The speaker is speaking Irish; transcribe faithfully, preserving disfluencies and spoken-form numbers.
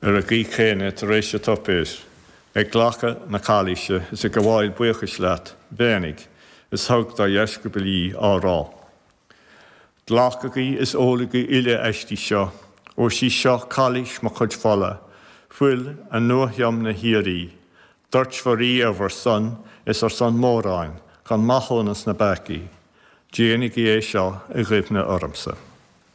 Ar an gcaoi chéanna, tar éis an tsuipéir, ag glacadh na cailíse is ag gabháil buíochais leat, bheannaigh, is thug dá dheisceabail í, á rá, Glacaigí is ólaigí uile aisti seo, óir 'sí seo cailís mo chuid fola, fuil an Nuathiomna shíoraí. Doirtfear í ar bhur son is ar son móráin chun maithiúnas na bpeacaí. Déanaigí é seo i gcuimhne ormsa.